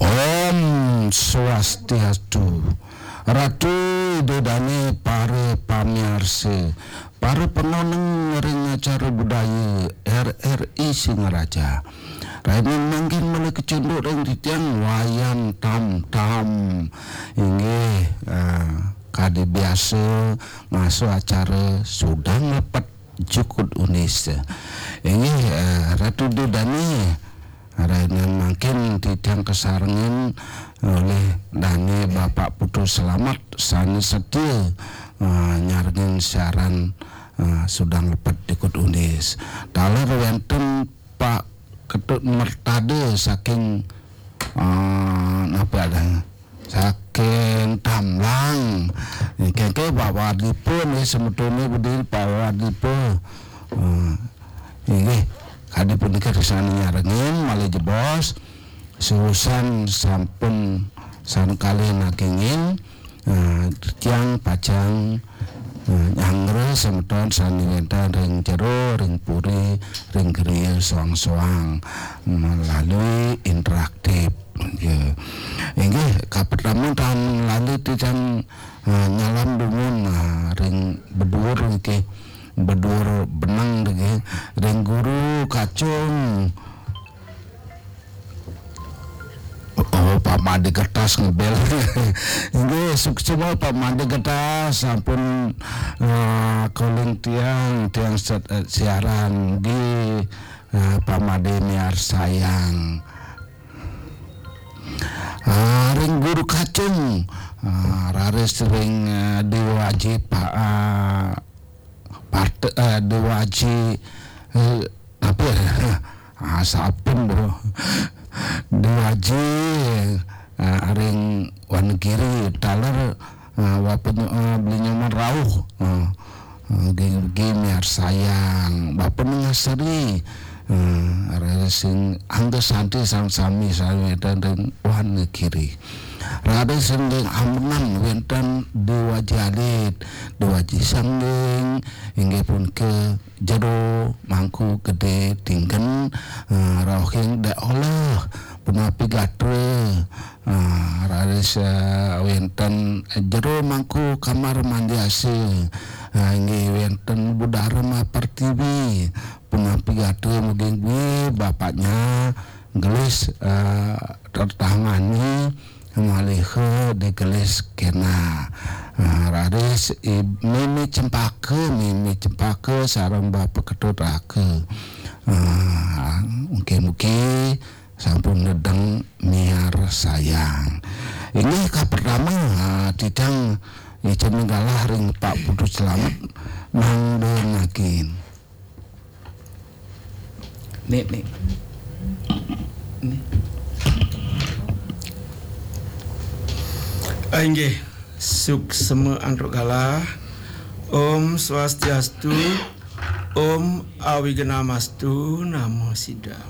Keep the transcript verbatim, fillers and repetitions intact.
Om Swastiastu. Ratu, Ida Dane, para pamiarsa, para pangoneng ring acara budaya R R I Singaraja. Rainin mangkin malih kacunduk ring titiang Wayan Tam Tam. Inggih, eh, kadi biasa ngasuh acara Sudang Lepet Jukut Unis. Inggih, eh, Ratu Ida Dane, rainin mangkin titiang kasarengin olih Dane Bapak Putu Selamat sane setia, eh, nyarengin siaran, eh, Sudang Lepet Jukut Unis. Taler wenten Pak Ketut Mertada saking, eh, napa ada? Saking Tamblang. Niki, niki Pak Wadipa nggih, semetone bedi Pak Wadipa. Eh, inggih, kadi punika sane nyarengin malih jebos. Suusan sampun sane kalih nagingin, eh, tiang pacang, eh, nyanggra semeton sane wenten ring jero, ring puri, ring griya soang-soang melalui interaktif. Ya. Inggih, kapertama tan lali titiang, eh, nyalam dumun, eh, ring beduur niki, beduur benang niki, ring Guru Kacung. Oh, Pak Made Kertas ngebel. Inggih, suksma Pak Made Kertas, sampun, eh, calling tiang, tiang set-, eh, siaran. Nggih, eh, Pak Made miarsayang. Ah, ring Guru Kacung, ah, raris ring, eh, Dewa Aji, Pak, ah, Parte-, eh, Dewa Aji, eh, apa ya? Ah, sampun, Bro. Dewa Aji, eh, ring Wonogiri, taler, eh, Bapa Nyo-, eh, Beli Nyoman rauh, eh, eh, nggih, nggih miarsayang, Bapa Nengah Seri, eh, raris ring Angga Santi sareng sami sami wenten ring Wonogiri. Raris ring Ambenan wenten Dewa Aji Alit, Dewa Aji Sangging, inggih punika Jero Mangku Gede Tinggen, eh, rauhing Dek Oleh, punapi gatra, eh, raris, eh, wenten Jero Mangku Kamar Mandi Asih, eh, inggih wenten Budara Mapertiwi, punapi gatra mugi-mugi bapaknya gelis, eh, tertangani malih digelis kena. Ah, raris i-, Mimi Cempaka, Mimi Cempaka sareng Bapa Ketut Raka. Ah, mugi-mugi sampun nedeng miarsayang. Inggih kapertama, ah, titiang icen galah ring Pak Putu Selamat mangda nagin. Nik, nik. Nik. Ah, inggih, suksma antuk galah. Om Swastiastu, Om Awignamastu, Namo Siddham.